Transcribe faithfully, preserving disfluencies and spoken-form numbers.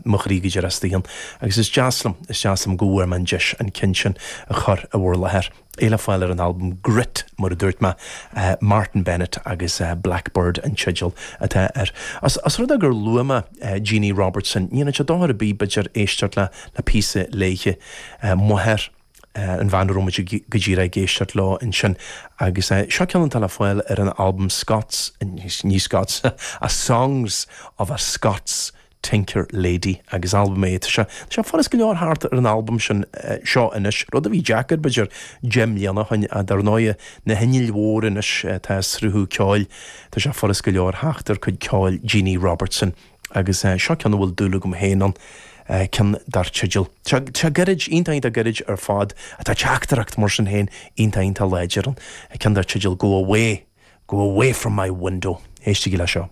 Mo chroí go díreach istigh ann. Agus is deas liom, is deas liom go bhfuair mé an deis an ceann sin a chur i bhur láthair. É le fáil ar an albam Grit, mar a dúirt mé, Martyn Bennett agus Blackbird an teideal atá air. As as rud é gur luaigh mé Jeannie Robertson, ní dhéanann sé dochar ar bith b'fhéidir éisteacht le le píosa léithe máthair an bhean a raibh muid go díreach ag éisteacht leo ansin agus seo ceann atá le fáil ar an albam Scots, ní Scots, a Songs of a Scots Tinker Lady agus albam é tá sé tá sé furast go leor thart ar an albam sin seo anois, rud a bhí deacair b'fhéidir deich mbliana ó shin dar ndóigh na hinnill mhóra anois atá ag sruthú ceoil tá sé furast go leor theacht ar cuid ceoil Jeannie Robertson agus seo ceann a bhfuil dúil agam féin ann ceann dar teideal. Tá sé gairid iontach iontach gairid ar fad atá teachtaireacht mar sin féin iontach iontach láidir ann ceann dar teideal Go Away, Go Away from my window. Éistigí le seo.